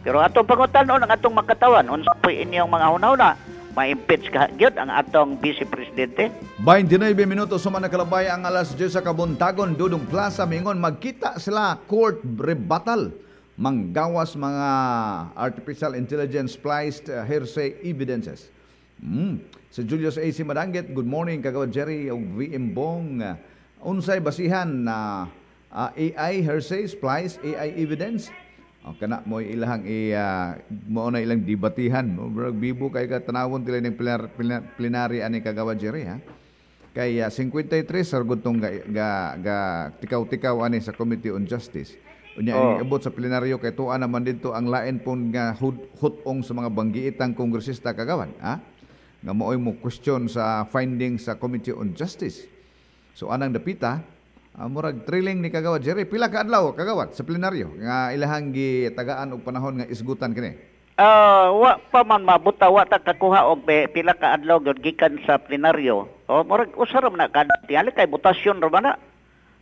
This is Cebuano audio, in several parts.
Pero atong pangutan-on ang atong makatawan, unsa po'y inyong mga hunahuna, ma-impeach ka gyud ang atong vice presidente? 29 minuto suma nakalabay ang alas 10 sa kabuntagon. Dudong Plaza mingon magkita sila court rebuttal manggawas mga artificial intelligence spliced hearsay evidences. Si Julius A.C. Madanggit, good morning, Kagawad Jerry ug VM Bong. Unsay basihan na AI hearsay spliced AI evidence? O kana mo ilahang i mao na ilang debatihan. Murag bibo kay ka tanawon tila ning plenary ani, Kagawad Jerry, ha. Kay 53 sargod tong ga tikaw-tikaw ani sa Committee on Justice. Unya abot sa plenaryo kay tuwa naman didto ang lain pong nga hutong sa mga banggiitang kongresista, Kagawad, ha? Nga maoy mo question sa findings sa Committee on Justice. So anang dapita, murag thrilling ni, Kagawad Jerry. Pila ka adlaw, Kagawad, sa plenaryo nga ilahang gitagaan og panahon nga isgutan kini? Wa pa man mabuta, wa ta kakuha og pila ka adlaw gyud gikan sa plenaryo. O murag usa ra man na kada tingali kay botasyon ra man na.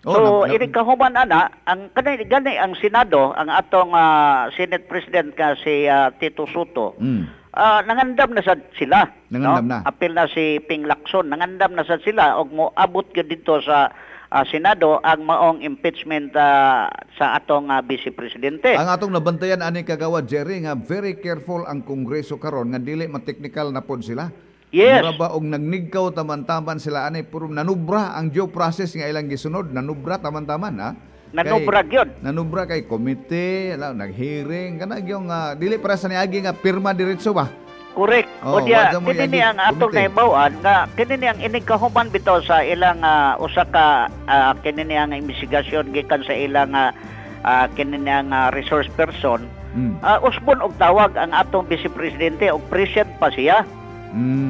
Oh, So ini kahuman ana ang kanay gani ang Senado, ang atong Senate President ka si Tito Sotto. Nangandam na sad sila. Nangandam no? na. Apil na si Ping Lacson, nangandam na sad sila og moabot gyud didto sa Senado ang maong impeachment sa atong vice presidente. Ang atong nabantayan ani, Kagawad Jerry, nga very careful ang Kongreso karon nga dili ma-technical na pod sila. Mura ba og nagnigkaw taman-taman sila ani, puro nanubra ang due process nga ilang gisunod, nanubra taman-taman, ha. Nanubra gyud. Nanubra kay komite, ala, nag-hearing kana gyung dili para sa niagi nga pirma diretso ba. Correct. Oh, O diya, wa mo kini ni yagi ang atong komite. nahibaw-an nga kini ni ang inig kahuman bitaw sa ilang usa ka kini ni ang investigasyon gikan sa ilang kini ni ang resource person. Usbon og tawag ang atong vice presidente og present pa siya.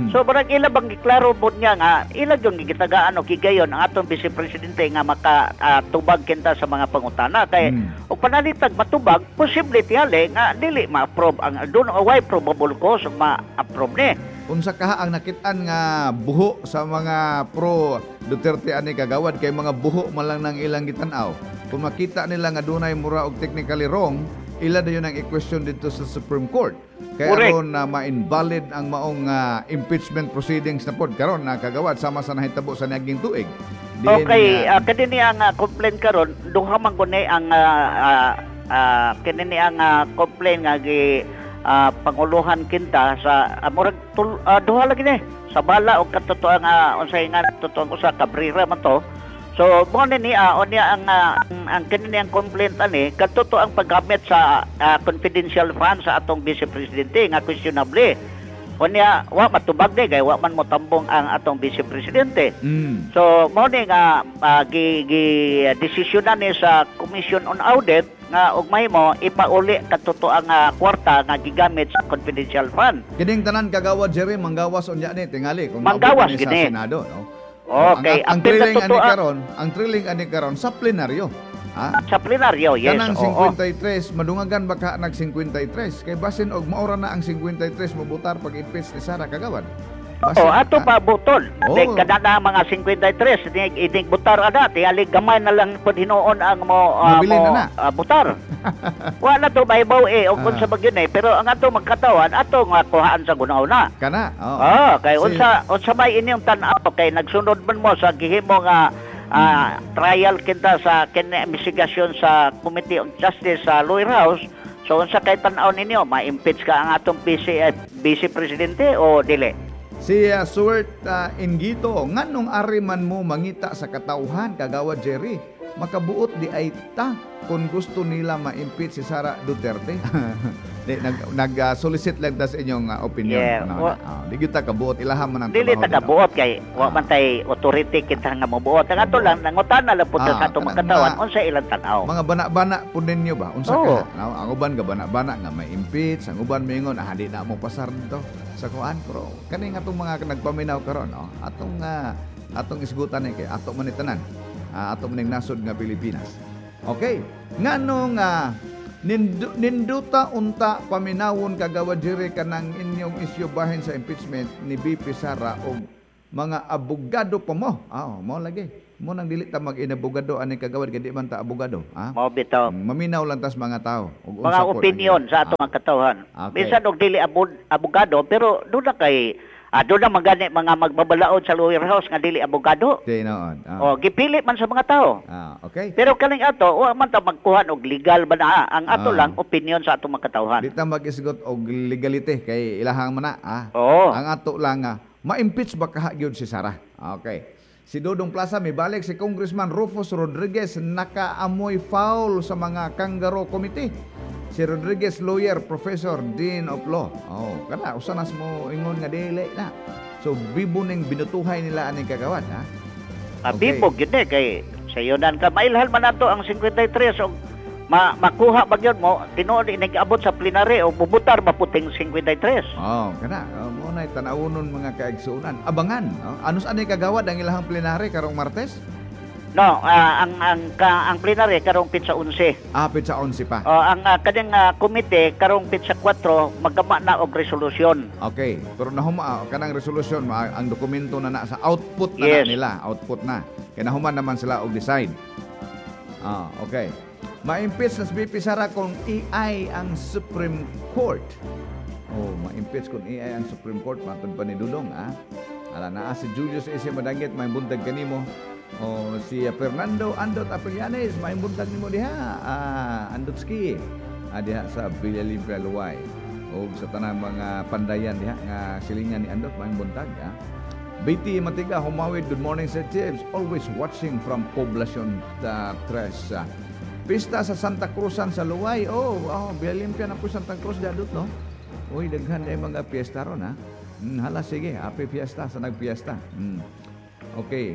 So barang ila bang giklaro pod niya nga ila gyud gitagaan og higayon ang atong vice presidente nga maka tubag kinta sa mga pangutana kay og panalitag matubag, posible tingali nga dili ma-approve ang doon way probable cause ug ma-approve ni. Unsa kaha ang nakit-an nga buho sa mga pro Duterte ani, Kagawad, kay mga buho man lang nang ilang gitan-aw. Kung makita nila nga dunay mura og technically wrong, ila dayon ang i-question dito sa Supreme Court. Kay aron na ma-invalid ang maong impeachment proceedings na pod karon na, Kagawad, sama sa nahitabo sa niaging tuig. Diin Okay, nga- kini ni ang complaint karon, duha man guni ang kini ni ang complaint nga gi panguluhan kinta sa murag duha lagi ni sa bala og katotoang unsay nga totoong usa Cabrera man to. So mo ni niya unya ang kini ni ang complaint ani kadto ang paggamit sa confidential fund sa atong vice presidente nga questionable. Unya wa matubag ni kay wa man motambong ang atong vice presidente. So mao ni nga gi gi desisyonan ni sa Commission on Audit nga og mahimo ipauli kadto ang kwarta nga gigamit sa confidential fund. Kining tanan, Kagawad Jerry, manggawas unya ni tingali kung Manggawas maabot ni sa gini. Senado, no? Okay, Ang apil na thrilling ani totoo karon, ang thrilling ani karon sa plenaryo. Ha? Sa plenaryo, yes. Kanang Oo. 53, madungagan baka nag 53 kay basin og maura na ang 53 mobutar pag-impeach ni Sara, Kagawad. Basin, Oh, ato ha? pa butol. Oo. Dek kada na mga 53 inig inig butar ana, tingali gamay na lang pud hinuon ang mo Mabilin mo na na. butar. Wa na to mahibaw eh og unsa ba gyud eh, pero ang ato magkatawan ato nga kuhaan sa gunaw na. Kana. Oo. Ah, kay unsa unsa may inyong tan-aw kay nagsunod man mo sa gihimo nga trial kita sa kini investigasyon sa Committee on Justice sa Lower House. So unsa kay tan-aw ninyo, ma-impeach ka ang atong vice presidente o dili? Si Stuart Ingito, nganong ari man mo mangita sa katawhan, Kagawad Jerry? Makabuot di ay ta kung gusto nila ma-impeach si Sara Duterte. Di, nag solicit lang ta sa inyong opinion. Yeah, Ano, di kita kabuot, ilaha man ang Dili trabaho ta dito. kabuot kay wa man tay authority kita nga mobuot. Ang ato lang nangutana lang pud sa atong kanang makatawan unsa ilang tan-aw. Mga bana-bana po ninyo ba? Unsa Oo. ka? No, ang uban ga bana-bana nga may impeach, ang uban moingon di na mo pasar dito sa kuan, pero kaning atong mga nagpaminaw karon, no, atong isgutan ni kay ato man ni tanan. Ato man ning nasod nga Pilipinas. Okay. Ngano nga ninduta unta paminawon, Kagawad Jerry, kanang inyong isyu bahin sa impeachment ni BP Sara og Mga abogado pa mo. Ah, mo lagi. Mo nang dili ta mag-inabogado ani, kagawad, kay di man ta abogado. Ah? Mao bitaw. Maminaw lang tas mga tao. Ug Mga unsa pod ang opinion sa atong mga katawhan. Bisan og dili abogado, pero doon na kay doon na magani mga magbabalaod sa lawyer house nga dili abogado. Tinuod. O gipili man sa mga tao. Pero kaning ato, wa man ta magkuhan og legal ba na, ang ato lang opinion sa atong mga katawhan. Di ta mag-isgot og legality kay ilahang man na. Ah. Oo. Ang ato lang ma-impeach ba kaha gyud si Sara? Okay. Si Dodong Plaza, mibalik si Congressman Rufus Rodriguez, nakaamoy foul sa mga kangaroo committee. Si Rodriguez, lawyer, professor, dean of law. Oh, kana usa nas mo ingon nga dili na. So bibo ning binutuhay nila aning kagawad, ha? Bibo gyud eh kay sayonan ka mailhan man nato ang 53 og makuha ba gyud mo tinuod inig-abot sa plenary o bubutar maputing 53. Oh, kana oh, mo na tan-awonon mga kaigsuonan. Abangan, oh. Anus ani kagawad ang ilahang plenary karong Martes? No, ang plenary karong pitsa 11. Ah, pitsa 11 pa. Oh, ang kaning komite karong pitsa 4 magama na og resolusyon. Okay, pero nahuma kanang resolusyon ang dokumento na na sa output na, na nila, output na. Kay nahuman naman sila og decide. Ah, okay. Ma-impeach na si BP Sara kung AI ang Supreme Court. Oh, ma-impeach kung AI ang Supreme Court, matod pa ni Dudong, ah. Ala naa si Julius S. Madanggit, may buntag kanimo. Oh, si Fernando Andot Aprillanes, may buntag nimo diha. Ah, Andotski. Ah, diha sa Villalimpia Luway. O sa tanang mga pandayan diha nga silingan ni Andot, may buntag, ah. BT Matiga, Humawid, good morning, Sir Tibbs. Always watching from Poblacion Tres. Pista sa Santa Cruzan sa Luway. Oh, Villalimpia na po Santa Cruz dadot, no? Uy, daghan na mga piyesta ron, ha? Hala, sige. Happy fiesta sa nagpiesta. Okay.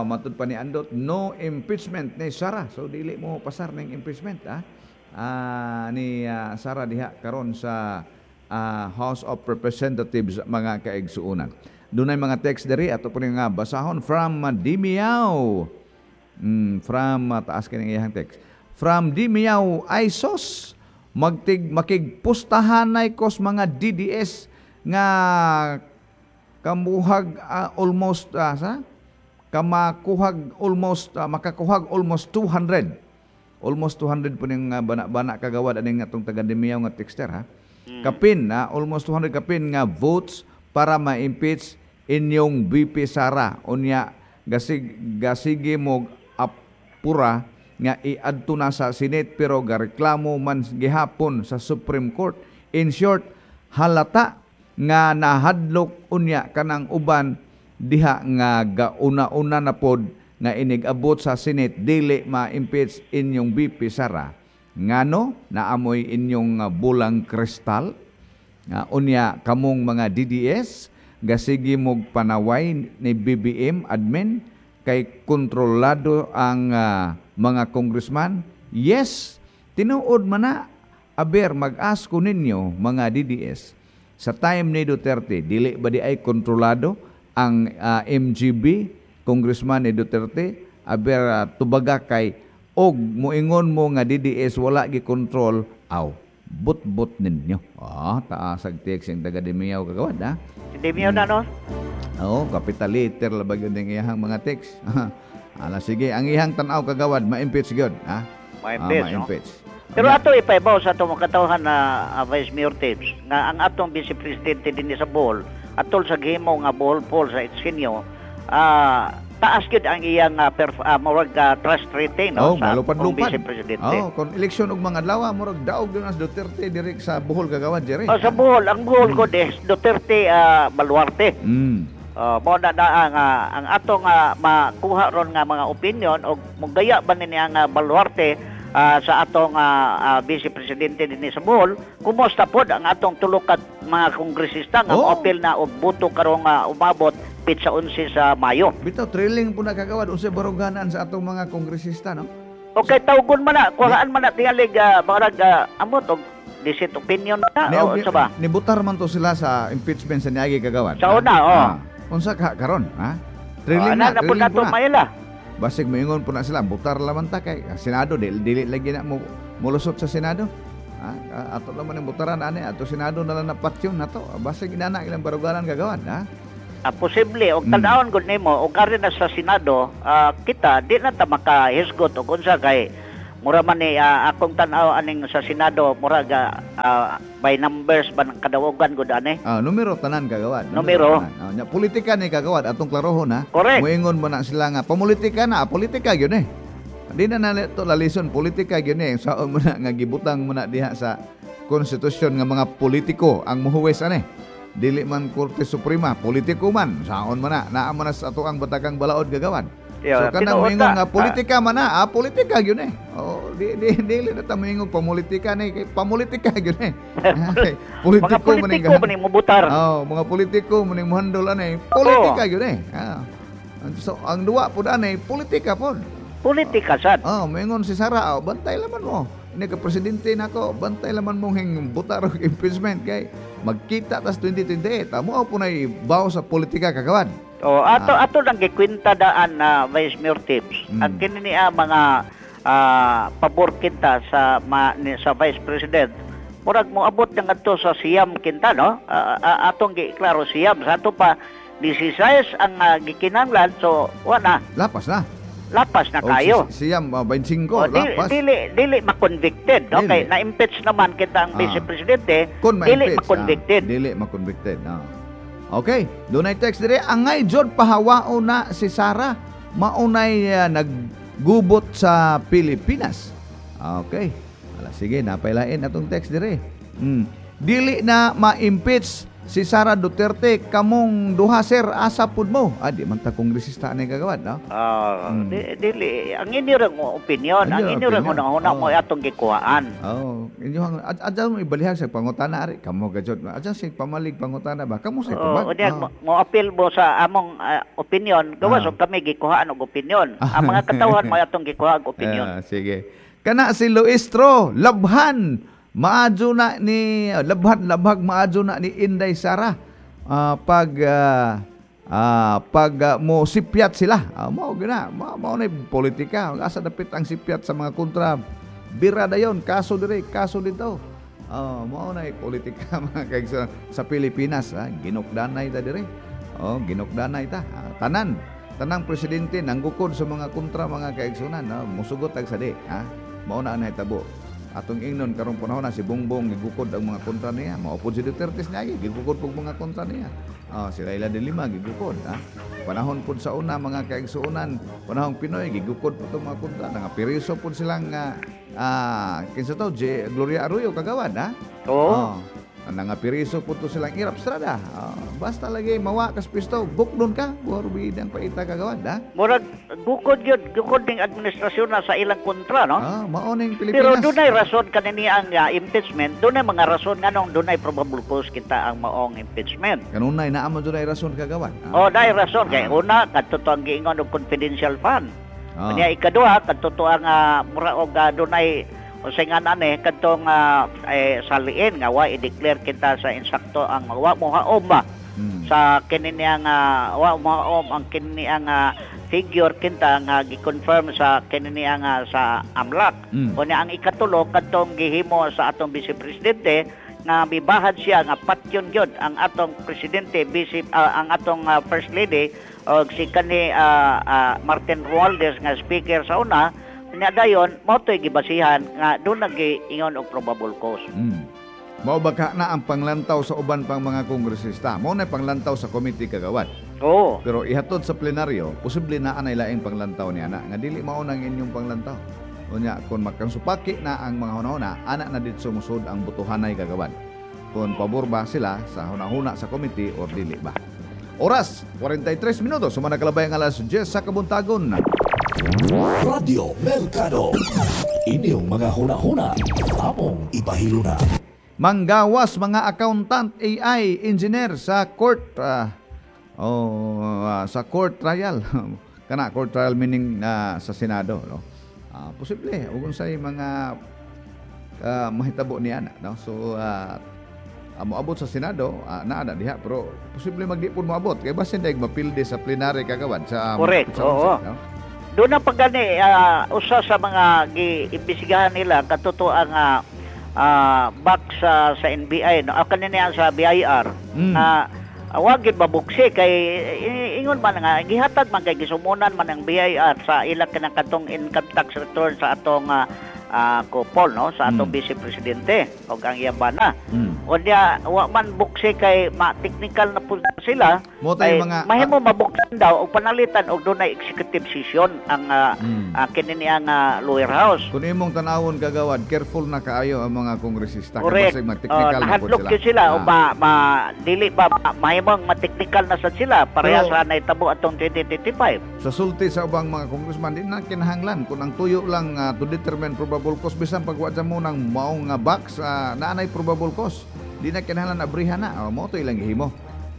Matud pa ni Andot, no impeachment ni Sara. So, dili mo pasar ng impeachment, ha? Ni Sara diha karon sa House of Representatives, mga kaigsuonan. Dunay mga text diri ato po nga basahon from Dimiao. From taas kining iyang text. From Dimiao Isos, magtig makigpustahanay kos mga DDS nga kamuhag almost sa kamakuhag almost makakuhag almost 200. Almost 200 po ning bana-bana kagawad aning atong taga Dimiao nga texter, ha. Kapin na almost 200 kapin nga votes para ma-impeach inyong BP Sara. Unya gasige mo apura nga iadto na sa Senate pero gareklamo man gihapon sa Supreme Court. In short, halata nga nahadlok unya kanang uban diha nga gauna-una na pod nga inig-abot sa Senate dili ma-impeach inyong BP Sara. Ngano naamoy inyong bulang kristal? Unya kamong mga DDS gasigi mog panaway ni BBM admin kay kontrolado ang mga congressman. Yes, tinuod man na. Aber mag-ask ko ninyo mga DDS sa time ni Duterte, dili ba di ay kontrolado ang MGB congressman ni Duterte? Aber tubaga kay og moingon mo nga DDS wala gi control, aw but-but ninyo. Ah, taasag text yung taga Dimiao kagawad, ha? Dimiao na, no? Oo, capital letter labag yun yung iyahang mga text. Ala, sige, ang iyahang tanaw kagawad, ma-impeach yun, ha? Ma-impeach, ma-impeach. No? Pero ato ipaibaw sa atong katawhan na Vice Mayor Tibbs, nga ang atong Vice Presidente din sa Bohol, atol sa gihimo nga Bohol Poll sa Itsinyo, taas gyud ang iyang murag trust rating, no, oh, sa malupad-lupad. Vice Presidente. Oh, kon eleksyon og mga adlaw, murag daog gyud as Duterte direk sa Bohol kagawad, Jerry. Oh, sa Bohol, ang Bohol ko des Duterte baluarte. Mo na ang atong makuha ron nga mga opinion og mugaya ba ni ang baluarte sa atong Vice Presidente dinhi sa Bohol, kumusta pod ang atong tulo ka mga kongresista nga moapil na og boto karong umabot pitsa 11 sa Mayo. Bitaw thrilling po na kagawad unsay baruganan sa atong mga kongresista, no? Okay, tawgon man na, kuhaan man na tingalig marag amot og decent opinion na o unsa ba? Nibutar man to sila sa impeachment sa niagi kagawad. Sa una, oh. Unsa ka karon, ha? Thrilling na, thrilling po na. Maila. Basig moingon po na sila, butar laman ta kay Senado dili lagi na mo molusot sa Senado. Ha? Ato naman ang butaran ani ato Senado na lang napatyon nato. Basig inana ilang baruganan kagawad, ha? Posible og tan-awon gud nimo og ari na sa Senado, kita di na ta makahisgot og unsa kay mura man ni akong tan-aw aning sa Senado, murag by numbers ba ng kadawogan gud ani. Numero tanan, kagawad. Numero. Tanan. Nya, politika ni, kagawad, atong klarohon ha. Correct. Moingon mo na sila nga pamulitika na, politika gyud eh. Di na na to lalison, politika gyud eh. Saon mo na nga gibutang mo na diha sa konstitusyon nga mga politiko ang muhuwes ani. Dili man Korte Suprema, politiko man. Saon man na, naa man na sa ato ang batakang balaod, kagawad. Yeah, so kanang tinuod moingon na. nga politika man na, politika gyud eh. Oh, di di dili na ta moingon pamulitika ni kay pamulitika gyud eh. Mga Politiko man ning politiko man ni mubutar. Oh, mga politiko man ning muhandol ani, politika gyud eh. So ang duwa pud ani, politika pod. Politika sad. Oh, moingon si Sara, oh, bantay laman mo. Ini ka presidente nako, bantay laman mong hing butar og impeachment kay magkita tas 2028. Amo po nay baw sa politika, kagawad. Oh, ato ato lang gikwenta daan na, Vice Mayor Tips. Ang kini niya mga pabor kita sa sa Vice President. Murag moabot na ngadto sa 9 kinta, no? Atong giklaro 9 sa ato pa 16 ang gikinahanglan, so wa na. Lapas na. Lapas na O, kayo. Siyam, 25, O, dili, lapas. dili dili ma-convicted, no? Dili. Kay na-impeach naman kita ang Vice Presidente, Kung dili ma-impeach, ma-convicted. Dili ma-convicted. Okay, dunay text dire, angay jud pahawao na si Sara, maunay naggubot sa Pilipinas. Okay. Ala sige, napailain atong text dire. Dili na ma-impeach si Sara Duterte, kamong duha sir, asa pud mo. Di man ta kongresista ani, kagawad, no? Dili ang inyo rang opinion, ang Inyo inyo rang opinion. hunahuna mo atong gikuhaan. Oh, inyo ang adya mo ibalihag sa pangutana ari kamo gajud. Adya sig pamalig pangutana ba? Kamo sa Oo, tubag. unya mo appeal mo sa among opinion, gawas og kami gikuhaan og opinion. Ang mga katawhan mo atong gikuha og opinion. Sige. Kana si Luistro, labhan. Maadyo na ni labhan labhag maadyo na ni Inday Sara. Pag mo sipyat sila. Mao gina, mao na politika. Asa dapit ang sipyat sa mga kontra. Bira dayon, kaso dire, kaso dito. Oh, mao na politika mga kaigsoon sa Pilipinas, ha. Ginukdanay ta dire. Oh, ginukdanay ta. Tanan, tanang presidente nanggukod sa mga kontra, mga kaigsunan, no? Musugot tag sadi, ha. Mao na ang nahitabo. Atong ingnon karong panahon na si Bongbong gigukod ang mga kontra niya. Mao pod si Duterte niya gigukod pug mga kontra niya. Oh, si Leila de Lima gigukod, ha. Panahon pud sa una, mga kaigsuonan, panahong PNoy gigukod pud tong mga kontra. Nangapiriso pud silang kinsa to, J. Gloria Arroyo, kagawad, ha. Oo. Oh. Nangapiriso po to silang Erap Estrada. Basta lagi mawa kas pisto, bukdon ka, buhar bidang paita, kagawad, ha. Murag gukod yun, gukod ning administrasyon na sa ilang kontra, no? Mao ning Pero Pilipinas. dunay rason kanini ang impeachment, dunay mga rason nganong dunay probable cause kita ang maong impeachment. Kanunay naa man dunay rason, kagawad. Oh, dahil rason kay una kadto to ang giingon og confidential fund. Unya ikaduha kadto to ang mura og dunay unsay nga nani kadtong saliin nga wa i-declare kita sa insakto ang wa mohaom ba sa kini niya nga wa mohaom ang kini niya nga figure kita nga gi-confirm sa kini niya nga sa AMLC. Unya ang ikatulo kadtong gihimo sa atong vice presidente nga mibahad siya nga patyon gyud ang atong presidente vice ang atong first lady og si kani Martin Romualdez nga speaker sa una. Nya dayon mao to'y gibasihan nga doon nagiingon og probable cause. Mao ba ka na ang panglantaw sa uban pang mga kongresista? Mao na panglantaw sa committee, kagawad. Oo. Pero ihatod sa plenaryo, posible na anay laing panglantaw niya na nga dili mao nang inyong panglantaw. Unya kung magkansupaki na ang mga hunahuna, ana na ditso musud ang butuhanay, kagawad. Kung pabor ba sila sa hunahuna sa committee or dili ba. Oras, 43 minutos, sumana kalabay ang alas 10 sa kabuntagon. Radio Mercado. Inyong mga huna-huna, among ipahiluna. Manggawas mga accountant, AI engineer sa court sa court trial. Kana court trial meaning sa Senado, no? Posible ug unsay mga mahitabo niya na, no? So moabot sa Senado, naa na diha, pero posible magdi pud moabot kay basin daig mapildi sa plenary, kagawad, sa Correct, sa oo. 11, no? Doon ang paggani usa sa mga giimbestigahan nila katuto ang back sa NBI, no, kanina sa BIR na Wa gyud mabuksi kay ingon man nga gihatag man kay gisumunan man ang BIR sa ila kanang katong income tax return sa atong couple, no, sa atong vice presidente og ang iyang bana. Unya wa man buksi kay ma-technical na pud sila. Mo tay kay mga mahimo mabuksan daw og panalitan og dunay executive session ang kini niya nga lower house. Kung imong tanawon, kagawad, careful na kaayo ang mga kongresista kay basig ma-technical na pud Nahadlok sila. Gyud sila o ma dili ba mahimong ma-technical na sad sila pareha sa nahitabo atong 2025. Sa sulti sa ubang mga congressman, di na kinahanglan kung ang tuyo lang to determine probable cause, bisan pag wa mo ng maong nga box, naanay probable cause, di na kinahanglan abrihan na. Oh, mo to ilang gihimo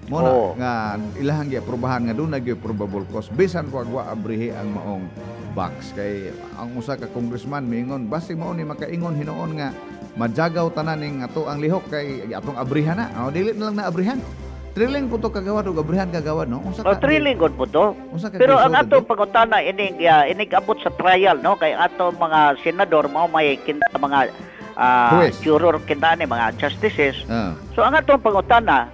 mo na nga ilahang giaprobahan nga doon na gyud probable cause bisan pag wa abrihi ang maong box, kay ang usa ka congressman miingon, basi mao ni makaingon hinuon nga majagaw tanan ning ato ang lihok kay atong abrihan na. Oh, dili na lang na abrihan. Thrilling po to, kagawad, og abrihan, kagawad, no? Unsa O ka thrilling gud po to. Unsa ka Pero ang glisod, ato eh? pangutana inig abot sa trial, no, kay ato mga senador mao may kinta mga Huwes. juror kinta ni mga justices. So ang atong pangutana,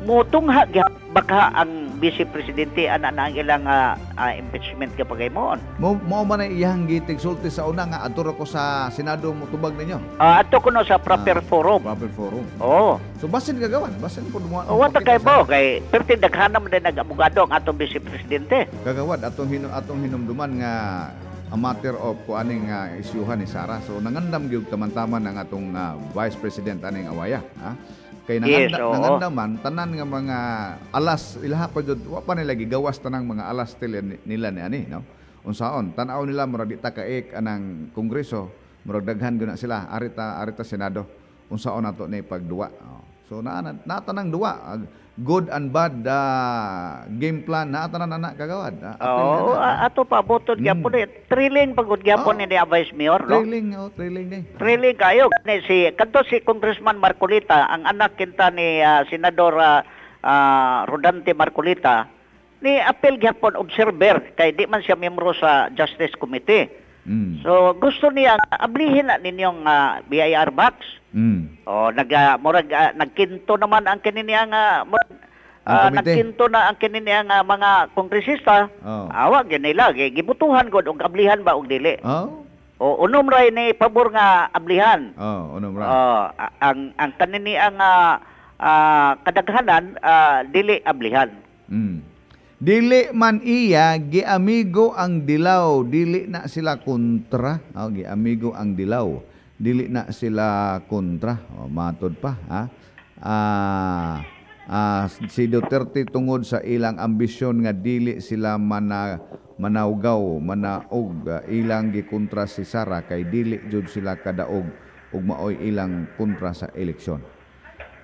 mutungha baka ang vice presidente ana na ang ilang impeachment kapag moon. Mo man ay iyang gitigsulti sa una nga adto ra ko sa Senado motubag ninyo. Ato kuno sa proper forum. Proper forum. Oo. So basin, kagawad, basin pud mo. Oh, wa ta kay bo kay perti daghan naman din nag-abogado ang atong vice presidente. Kagawad, atong hinumduman nga a matter of kuaning nga isyuhan ni Sara. So nangandam gyud taman-taman ang atong vice president aning awaya, ha? Kay nangandam man tanan nga mga alas ilaha pa jud, wa pa nila gigawas tanang mga alas nila ni ani, no. Unsaon tan-aw nila, murag di ta kaik anang kongreso, murag daghan gyud na sila, arita Senado, unsaon nato ni pagduwa. Oh. So naa na natanang duwa, good and bad game plan naa tanan ana, kagawad. Apil Oo, na na. ato pa buton gyapon eh. Thrilling pagod gyapon ni Vice Mayor, no? Thrilling, oh, thrilling ni. Thrilling kayo ni si kadto si Congressman Marcoleta, ang anak kinta ni Senador Rodante Marcoleta, ni apel gyapon observer kay di man siya miyembro sa Justice Committee. So gusto niya nga ablihin na ninyong BIR box. O nag murag nagkinto naman ang kini niya nga murag, Ang komite. nagkinto na ang kini niya nga mga kongresista. Awa gyud nila gibutuhan gud og ablihan ba og dili. O unom ra ni pabor nga ablihan. Oh, unom ra. Oh, ang kanini ang kadaghanan dili ablihan. Dili man iya giamigo ang dilaw, dili na sila kontra. Oh, giamigo ang dilaw. Dili na sila kontra. Oh, matod pa, ha. Si Duterte tungod sa ilang ambisyon nga dili sila manawgaw, manaog, ilang gikontra si Sara kay dili jud sila kadaog ug maoy ilang kontra sa eleksyon.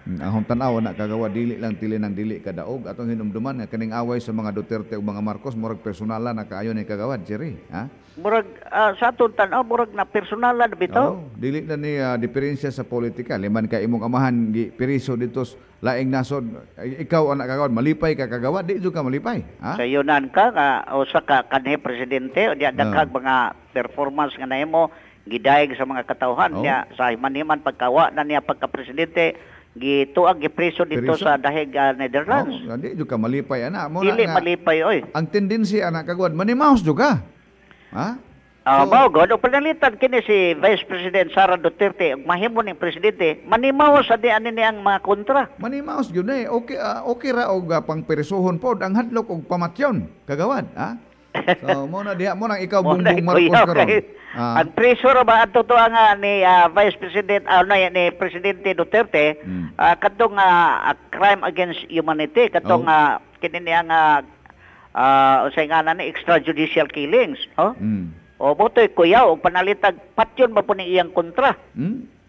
Ang tan-aw na, kagawa, dili lang tili ng dili kadaog. Atong hinumduman nga kaning away sa mga Duterte ug mga Marcos murag personalan na kaayo ni, kagawad Jerry, ha? Murag sa atong tan-aw murag na personalan bitaw. Oo, dili na ni diferensya sa politika. Liman ka imong amahan gi periso dito sa laing nasod, ay, ikaw anak, kagawad, malipay ka, kagawad, di jud ka malipay, ha? Sa yunan ka nga usa ka kanhi presidente o diya daghang mga performance nga nahimo gidayeg sa mga katawhan niya sa himan-himan pagkawa na niya pagka presidente gituag gipreso dito Preso? sa dahig Netherlands. Oo, di jud ka malipay ana. Mo na Dili nga, malipay oy. ang tendency anak, kagawad, manimaos jud ka. Ha? Ah, mao god o panalitan kini si Vice President Sara Duterte ug mahimo ning presidente, manimaw sa di ani niyang mga kontra. Manimaos gyud eh. Okay ra og pangperesohon pod ang hadlok og pamatyon, kagawad, ha? So mo na diha mo nang ikaw Mo na Bongbong Marcos kuyaw karon. Ang preso ra ba ato to ang ni Vice President na, ni Presidente Duterte kadtong crime against humanity kadtong kini niya nga unsay nga na ni extrajudicial killings, oh? O botoy kuyaw og panalitag patyon ba po ni iyang kontra.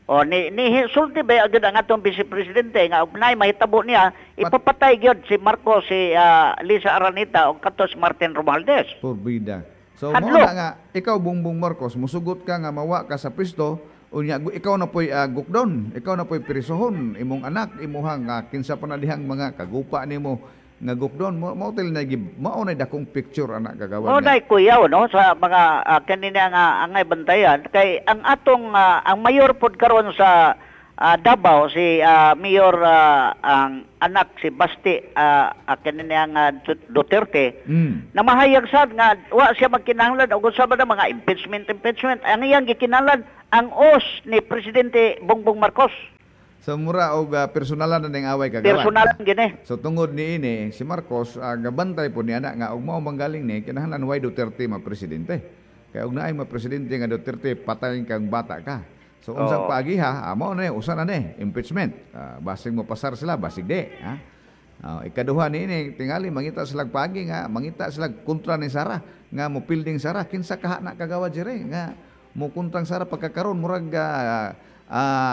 O ni sulti ba agad ang atong vice presidente nga og naay mahitabo niya ipapatay gyud si Marcos, si Lisa Araneta og kato si Martin Romualdez. Porbida. So mo Hadlok. na nga ikaw Bongbong Marcos musugot ka nga mawa ka sa pisto, unya ikaw na po'y gukdon, ikaw na po'y presohon, imong anak, imuhang kinsa pa na dihang mga kagupa nimo nga gukdon mo mao til na mao na dakong picture anak, kagawad Mao nga. na kuyaw no sa mga kanina nga angay bantayan kay ang atong ang mayor pod karon sa Davao, si Mayor, ang anak si Basti, kini niyang Duterte, na mahayag sad nga wa siya magkinahanglan og unsa ba na mga impeachment impeachment. Ang iyang gikinahanglan, ang os ni Presidente Bongbong Marcos. So mura og personalan na ning away, kagawad. Personal gini. So tungod ni ini si Marcos, gabantay po niya na nga og mao manggaling ni, kinahanglan way Duterte ma presidente. Kay og naay ma presidente nga Duterte, patay kang bata ka. So unsang paagiha, mao na, usa na ni impeachment. Basig mo pasar sila, basig di, ha? Ikaduha ni ini, tingali mangita sila paagi nga mangita sila kontra ni Sara nga mo pilding Sara. Kinsa kaha na, kagawad dire, nga mo kontrang Sara pagkakaron? Murag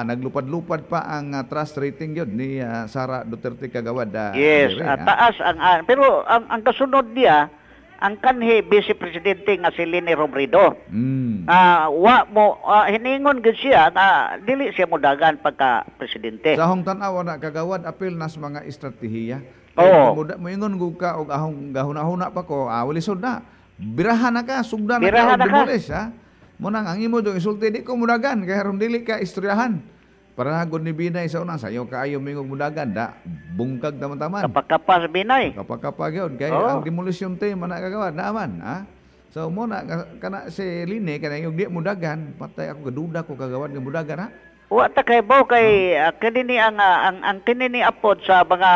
naglupad-lupad pa ang trust rating yun ni Sara Duterte, kagawad. Yes, dire, taas ang pero ang kasunod niya ang kanhi vice presidente nga si Leni Robredo. Wa mo hiningon gid siya nga dili siya modagan pagka presidente. Sa ahong tan-aw na, kagawad, apil nas mga estratehiya. Oo. Kay moingon gud ka og ahong gahuna-huna pa ko, lisod na. Birahan na ka, sugdan na ka, Birahan og na ka. Demolish, ha? Mo nang ang imo dong isulti, di ko mudagan kay aron dili ka istoryahan. Para nagod ni Binay sa una, sayo kaayo mingog mudagan, da bungkag taman-taman. Kapakapas Binay. Kapag yun, kay ang demolition team man na, kagawad, naaman, ha? So mo na kana si Lini kana yung di mudagan, patay ako, gaduda ko, kagawad, nga mudagan, ha? Wa ta kay bo kay kini ni ang ang kini ni apod sa mga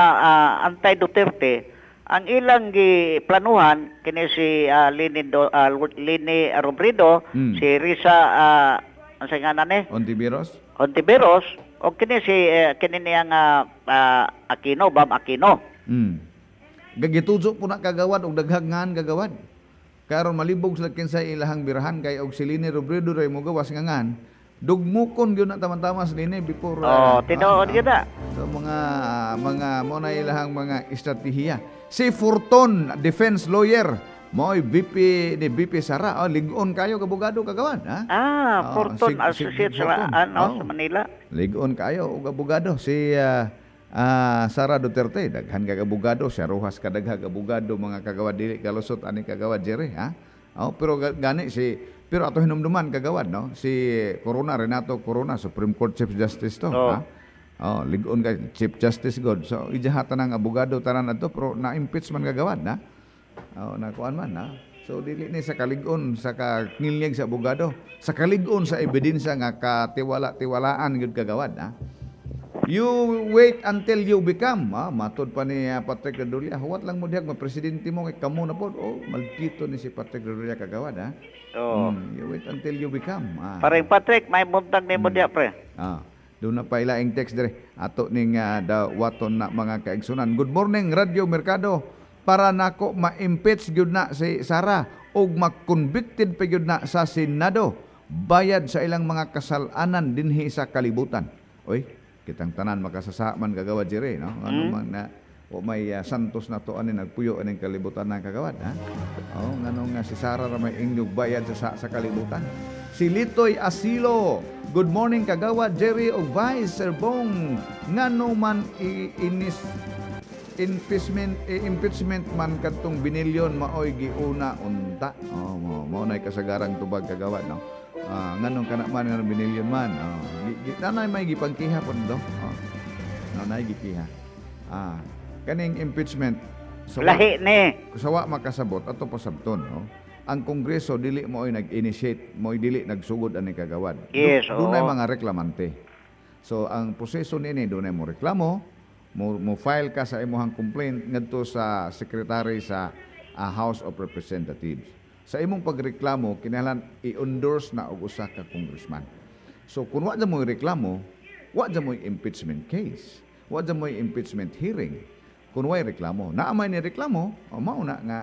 anti-Duterte, ang ilang giplanuhan kini si Leni Robredo, si Risa, ang sa nga ni Ontiveros. Ontiveros, o kini si kini niyang Aquino, Bam Aquino. Gagituzo po na, kagawad, og daghang ngan, kagawad. Karon malibog sila kinsay ilahang birahan kay og si Leni Robredo ray mo gawas nga ngan. Dugmukon gyud na tama-tama sa Leni before. Oh, tinuod gyud na. So mga mo na ilahang mga estratehiya. Si Forton, defense lawyer, mo'y VP ni VP Sara. Oh, lig-on kayo kabugado, kagawad, ha? Ah, Oh, Forton si Associates sa Forton. ano Oh. sa Manila. Lig-on kayo og abogado si Sara Duterte. Daghan kag abogado siya, Rojas kadaghag abogado, mga kagawad, dili kalusot ani, kagawad Jerry, ha. Oh, pero gani si, pero ato hinumduman, kagawad, no, si Corona, Renato Corona, Supreme Court Chief Justice to, ha. Oh, lig-on kay Chief Justice god. So ijahatan ang abogado tanan adto, pero na-impeach man, kagawad, na. Oh, nakuan man na. So dili ni sa kalig-on sa kangilnyag sa abogado, sa kalig-on sa ebidensya nga katiwala-tiwalaan gyud, kagawad, ha. You wait until you become, matod pa ni Patrick Redulla, huwat lang mo dihag presidente mo kay kamo na pod. Oh, maldito ni si Patrick Redulla, kagawad, ha. You wait until you become. Pareng Patrick, may buntag nimo diya, pre. Doon na pa ilaing text dire ato ning dawaton na, mga kaigsunan. Good morning, Radyo Merkado. Para nako, ma-impeach gyud na si Sara ug ma-convicted pa gyud na sa Senado bayad sa ilang mga kasalanan dinhi sa kalibutan. Oy, kitang tanan makasasa man, kagawad dire, no? Ano man na o may santos na to ani nagpuyo aning kalibutan ng kagawad, ha? Oh, ngano nga si Sara ra may ingyog bayad sa kalibutan. Si Litoy Asilo. Good morning, kagawad Jerry ug Vice Sir Bong. Ngano man inis impeachment impeachment man kadtong binilyon maoy giuna unta. Oh, mo nay kasagarang tubag, kagawad, no. Nganong kana man nga binilyon man. Oh, nanay may gipangkiha pud do. Oh. Nanay gikiha. Kaning impeachment sa Lahi ni. Sa wa makasabot, ato pasabton, no. Ang Kongreso dili mo ay nag-initiate, mo dili nagsugod ani, kagawad. Dunay mga reklamante. So ang proseso niini, dunay mo reklamo, mo file ka sa imong complaint ngadto sa secretary sa House of Representatives. Sa imong pagreklamo, kinahanglan i-endorse na og usa ka congressman. So kung wa mo reklamo, wa mo impeachment case. Wa mo impeachment hearing. Kung way reklamo, naa may ni reklamo, o mao na nga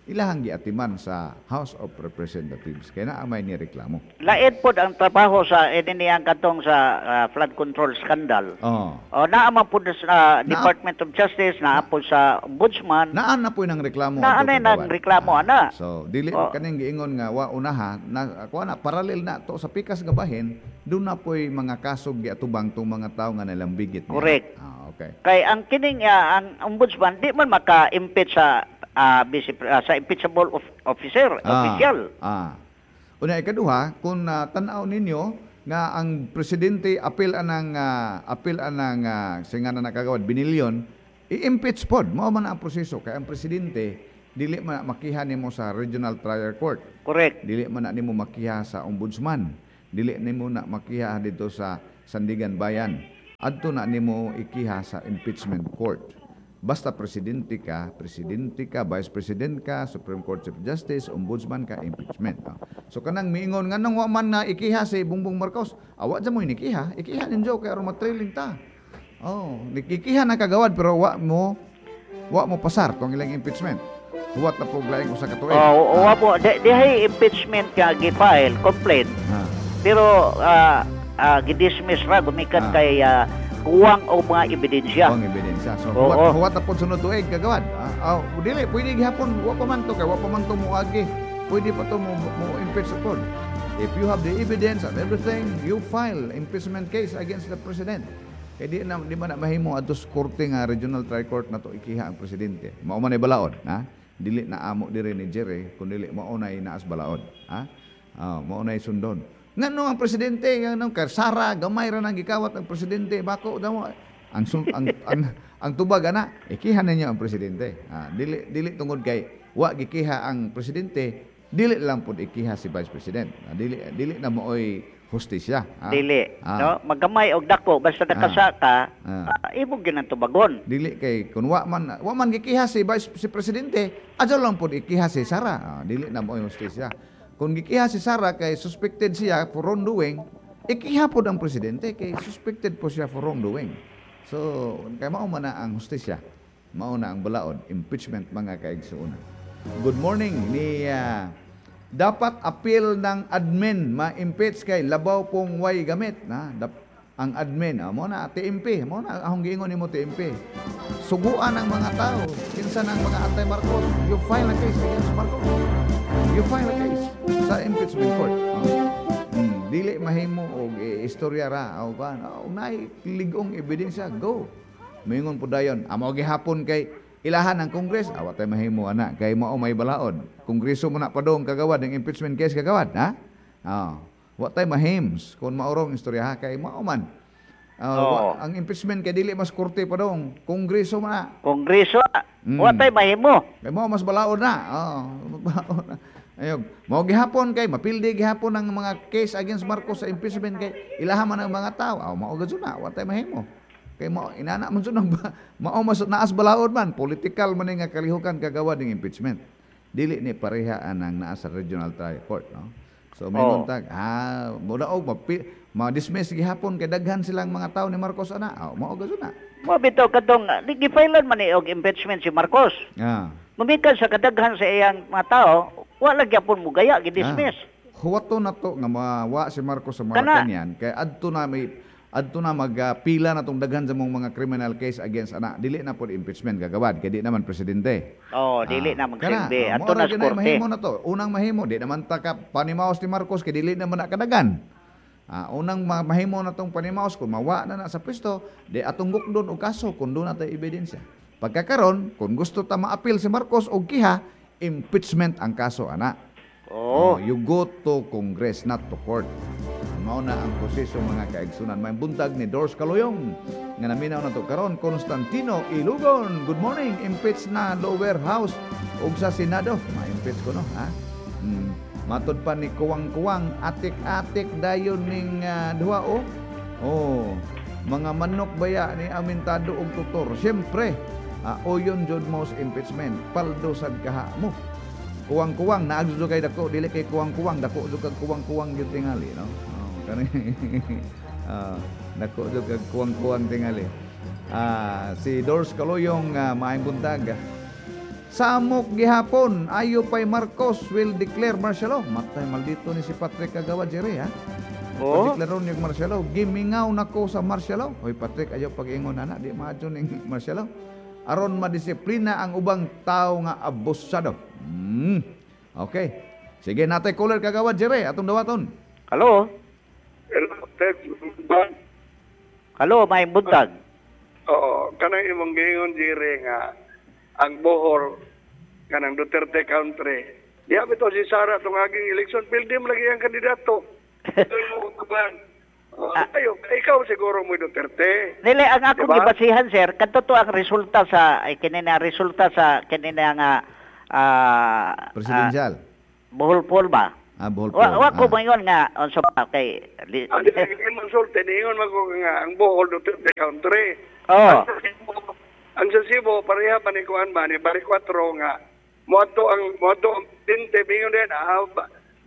ilahang giatiman sa House of Representatives kay naa may ni reklamo. Lain pod ang trabaho sa ini niyang katong sa flood control scandal. O naa man pod sa Department of Justice, naa pod sa Ombudsman. Naa na po nang reklamo Naa adto, na nang kagawad. reklamo, ana. So dili kaning giingon nga wa unaha na kuha na, parallel na to sa pikas nga bahin, doon na po'y mga kaso giatubang tong mga tao nga nalambigit niya. Correct. Okay. Kay ang kining ang ombudsman di man maka-impeach sa sa impeachable officer, official. Una ikaduha, kung tan-aw ninyo Nga ang presidente apil anang singa na nakagawad binilyon, i-impeach pod. Mao man ang proseso kay ang presidente dili man na makiha nimo sa regional trial court. Correct. Dili man na nimo makiha sa ombudsman. Dili nimo na makiha dito sa Sandigan Bayan. Adto na nimo ikiha sa impeachment court. Basta presidente ka, vice president ka, Supreme Court Chief Justice, ombudsman ka, impeachment. No? So kanang miingon nganong wa man na ikiha si Bongbong Marcos, awa dyan mo inikiha, ikiha ninyo kay aron matrailing ta. Oh, nikikiha na kagawad pero wa mo pasar tong ilang impeachment. Huwat na po laing usa ka tuig. Oh, wa po di, dihay impeachment ka gi-file complaint pero gidismiss ra gumikan kay kuwang og mga ebidensya. Kuwang ebidensya. So, huwat na po sunod tuig kagawad. Dili, pwede gihapon, wa pa man to, kay wa pa man to moagi. Pwede pa to mo impeach sa pod. If you have the evidence and everything, you file impeachment case against the president. Kay di man na mahimo adto sa korte nga regional trial court na to ikiha ang presidente. Mao man ay balaod, ha? Dili na amo diri ni Jerry, kun dili mao na inaas balaod, ha? Ah, mao na sundon. Ngano ang presidente, ngano kay Sara gamay ra nang gikawat ang presidente, bako damo ang sul- ang tubag ana, ikiha ninyo ang presidente. Ah, dili dili tungod kay wa gikiha ang presidente, dili lang pud ikiha si vice president. Ah, dili dili na mooy hustisya. Ah. Dili, no? Magamay og dako basta nakasa ka, imo gyud ang tubagon. Dili kay kun wa man gikiha si vice si presidente, adyo lang pud ikiha si Sara. Ah, dili na mooy hustisya. Kung gikiha si Sara kay suspected siya for wrongdoing, ikiha pod ang presidente kay suspected po siya for wrongdoing. So, kay mao man na ang hustisya. Mao na ang balaod, impeachment, mga kaigsuonan. Good morning ni dapat appeal ng admin ma-impeach kay labaw pong way gamit na ang admin, mo na TMP, mo na akong giingon nimo, TMP. Suguan ang mga tao kinsa ng mga anti-Marcos, you file a case against Marcos, you file a case sa impeachment court. Oh. Dili mahimo og istorya ra o kan, oh, naay lig-ong ebidensya, go. Moingon po dayon amo gihapon kay ilahan ang Congress, awa tay mahimo ana kay mao may balaod. Kongreso mo na padong kagawad ang impeachment case kagawad, ha? Oh. Wa tay mahims kung maurong istorya ha kay mao man. Ang impeachment kay dili mas korte padong, kongreso man na. Kongreso, wa tay mahimo. Kay mao mas balaod na. Oh, balaod na. Ayog, mao gihapon kay mapildi gihapon ang mga case against Marcos sa impeachment kay ilaha man ang mga tao. Aw, mao gud na, wa tay mahimo. Kay mao inana man jud ang mao mas naas balaod man, political man ni nga kalihukan kagawa ning impeachment. Dili ni pareha anang naa sa regional trial court, no? So may tag, mo daog ma-dismiss gihapon kay daghan silang mga tao ni Marcos ana. Aw, mao gud na. Mo bitaw kadtong gi-filean man ni og impeachment si Marcos. Gumikan sa kadaghan sa iyang mga tao, wala gyapon mo gaya gi-dismiss. Huwato na to nga mawa si Marcos sa Kana. Malacanang kay adto na magpila na tong daghan sa mong mga criminal case against ana, dili na pod impeachment gagawad kay di naman presidente. Oh, dili na magsilbi. Kana, Adto mao na ra sa gyud ay korte. Mahimo na to. Unang mahimo, di naman ta ka panimaos ni Marcos kay dili naman na kadagan. Unang mahimo na tong panimaos kung mawa na na sa pwesto, di atong gukdon og kaso kung doon na tay ebidensya. Pagkakaron, kung gusto ta maapil si Marcos og kiha, impeachment ang kaso ana. Oh, you go to Congress, not to court. Mao na ang proseso, mga kaigsunan. May buntag ni Dors Kaluyong nga naminaw na to karon. Constantino Ilugon. Good morning. Impeach na lower house ug sa Senado. Ma-impeach ko no, ha? Matod pa ni Kuwang-kuwang, atik-atik dayon ning duha oh. Oh, mga manok baya ni amintado og tutor. Siyempre, oyon jud mo sa impeachment. Paldo sad kaha mo. Kuwang-kuwang naag jud kay dako, dili kay kuwang-kuwang, dako jud kag kuwang-kuwang gyud tingali, no? Oh, kani. Dako jud kag kuwang-kuwang tingali. Si Dors Kaloyong, maayong buntag. Samok gihapon, ayo pay Marcos will declare martial law. Matay maldito ni si Patrick Kagawa Jerry, ha? Oh. Pagdeklaro niya martial law, gimingaw nako sa martial law. Hoy Patrick, ayaw pag-ingon ana, di maadyo ning martial law. Aron madisiplina ang ubang tao nga abusado. Okay. Sige, natay caller Kagawa Jerry, atong dawaton. Hello? Hello, Ted. Ba? Hello, maayong buntag. Oo, kanang imong giingon, Jerry, nga ang Bohol kanang Duterte country. Diha bitaw si Sara tong aging election, pildi mo lagi ang kandidato. Doon mo kutuban. Ayo, ikaw siguro mo Duterte. Dili ang akong Diba? gibasihan, sir, kadto to ang resulta sa kini na resulta sa kini na nga Presidential. Bohol poll ba? Bohol Wa poll. wa ko moingon nga unsa ba kay Ang di man sulti niingon man ko nga ang Bohol Duterte country. Oh. Ang sa Cebu pareha pa ni kuan ba ni Bari 4 nga moadto ang tinte bingon din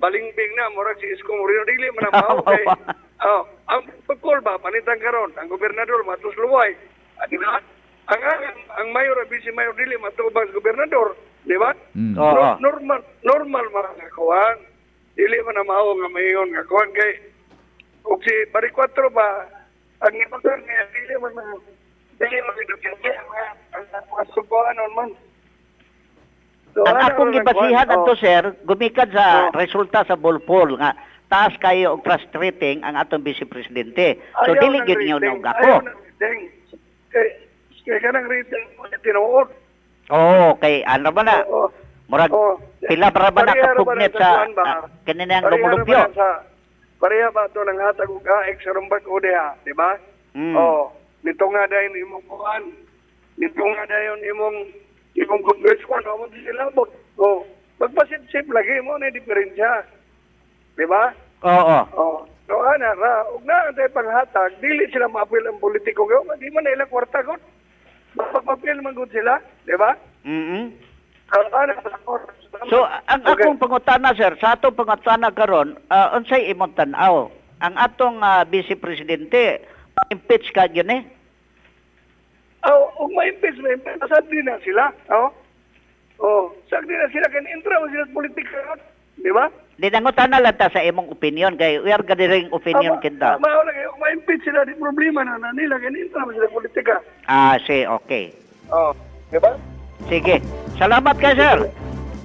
balingbing na murag si Isko Moreno dili man ang mao kay oh, ang pagkol ba panitan karon ang gobernador matos luway. Di ba? Ang mayor at vice mayor dili matubang sa gobernador, di ba? Mm. Oo. Normal man nga kuan. Dili man ang mao nga mayon nga kuan kay og si Bari 4 ba ang ibang nga dili man dili man Duterte ang subuanon man. So, Ang ana akong lang gibasihan kuan. adto, sir, gumikan sa Oh. resulta sa Bohol poll nga taas kayo og trust rating ang atong vice presidente. So Ayaw dili ng gyud niyo rating. og ako. Ayaw ng rating. Kay kanang rating tinuod. Oo, kay ano ba na? Oo. Murag Oo. pila para ba na Pareha ra ba kapugnit na sa kuan ba? kini nang Pareha ra ba lumulupyo. na pareha ba ito ng hatag og AX sa rumbag o diha, di ba? Mm. Oh, nito nga dayon imong kuan. Nito nga dayon imong congressman mo sila mo. Oh, magpasip-sip lagi mo na diferensya. Di ba? Oo. Oh, so ana ra, ug naa tay panghatag, dili sila maapil ang politiko kay di man na ilang kwarta gud. Mapapapil man gud sila, di ba? Mm. Ana. So ang Okay. akong pangutana, sir, sa atong pangutana karon, unsay imong tan-aw? Ang atong vice presidente impeach ka gyud eh. Oh, ug ma-impeach, sagdi na sila. Oh. Oh, sagdi na sila kay intra man sila sa politika, di ba? Di nangutana lang ta sa imong opinion kay we are gathering opinion kinta. Mao lang kayo, ma-impeach sila di problema na nila kay intra man sila sa politika. Si okay. Oh, di ba? Sige. Salamat kay sir.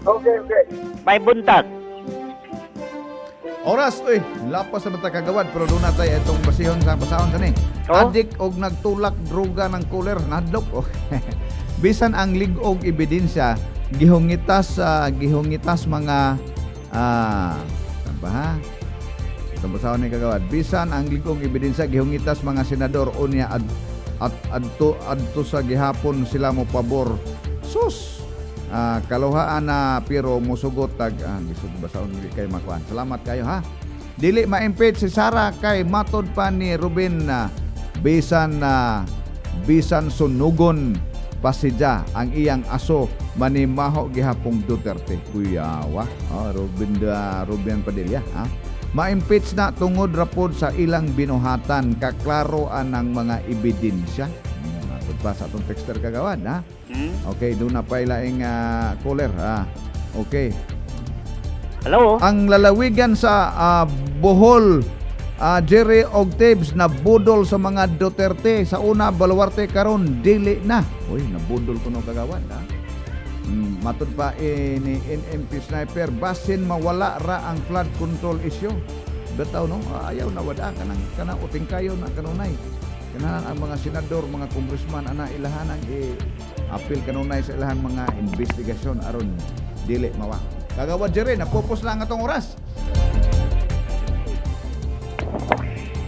Okay, okay. May buntag. Oras, uy, lapas na bata kagawad, pero doon natay itong basihon sa basahon sa ni. Oh? Adik og nagtulak droga ng cooler, nadlok. Oh. Bisan ang lig-og ebidensya, gihungitas mga ba ha? Itong basahon ni kagawad. Bisan ang lig-og ebidensya, gihungitas mga senador unya at adto sa gihapon sila mo pabor. Sus! Kaluhaan na pero musugot tag bisod basahon dili kay makuan. Salamat kayo ha. Dili ma-impeach si Sara kay matod pa ni Ruben na bisan sunugon pasidya ang iyang aso manimaho gihapong Duterte. Kuyawa. Oh, Ruben Padilla ha. Ma-impeach na tungod rapod sa ilang binuhatan kaklaro anang mga ebidensya. Matod pa sa atong texter kagawad ha. Okay, doon na pa ilaing caller. Okay. Hello? Ang lalawigan sa Bohol, Jerry og Tibbs, nabudol sa mga Duterte. Sa una, baluarte karon dili na. Uy, nabudol kuno kagawan. Ha? Matod pa ni NMP Sniper, basin mawala ra ang flood control issue. Bitaw no, ayaw na wada kanang uting kayo na kanunay. Kanahan ang mga senador, mga congressman ana ilahan ang i-appeal kanunay sa ilahang mga investigasyon aron dili mawa. Kagawad Jerry, napupos lang atong oras.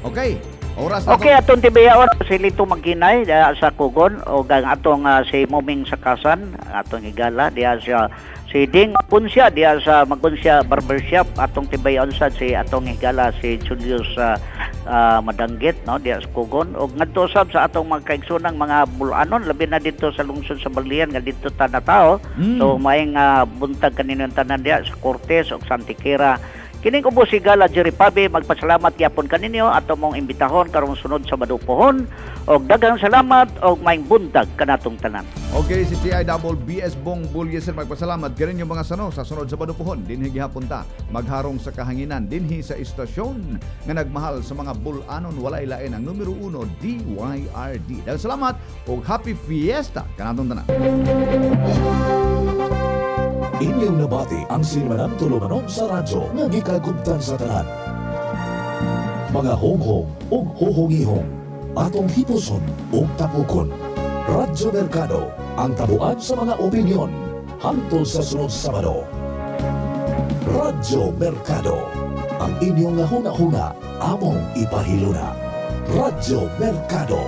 Okay, oras na. Okay, atong tibayaon si Lito Magginay sa Kugon o ang atong si Moming Sakasan, atong higala diha sa si Ding Magunsya diha sa Magunsya Barbershop, atong tibayaon sad si atong higala si Julius Madanggit no diha sa Kugon og ngadto sab sa atong mga kaigsoonang mga bulanon labi na dito sa lungsod sa Balian nga dito ta natao. So maayong buntag kaninyo tanan diha sa Cortes ug sa Antiquera. Kining ubos si Gala Jerry Pabe, magpasalamat gyapon kaninyo ato mong imbitahon karong sunod sa Badupohon og daghang salamat og maayong buntag kanatong tanan. Okay, si TIBBS Bong Bulyeser magpasalamat ganin yung mga sano sa sunod sa Badupohon dinhi gihapon ta magharong sa kahanginan dinhi sa istasyon nga nagmahal sa mga bulanon walay lain ang numero 1 DYRD. Daghang salamat og happy fiesta kanatong tanan. Inyong nabati ang sinimanang tulumanon sa radyo nga gikagubtan sa tanan. Mga honghong ug hohongihong, atong hipuson ug tapukon. Radyo Mercado, ang tabuan sa mga opinyon. Hangtod sa sunod Sabado. Radyo Mercado. Ang inyong nga huna-huna, among ipahiluna. Radyo Mercado.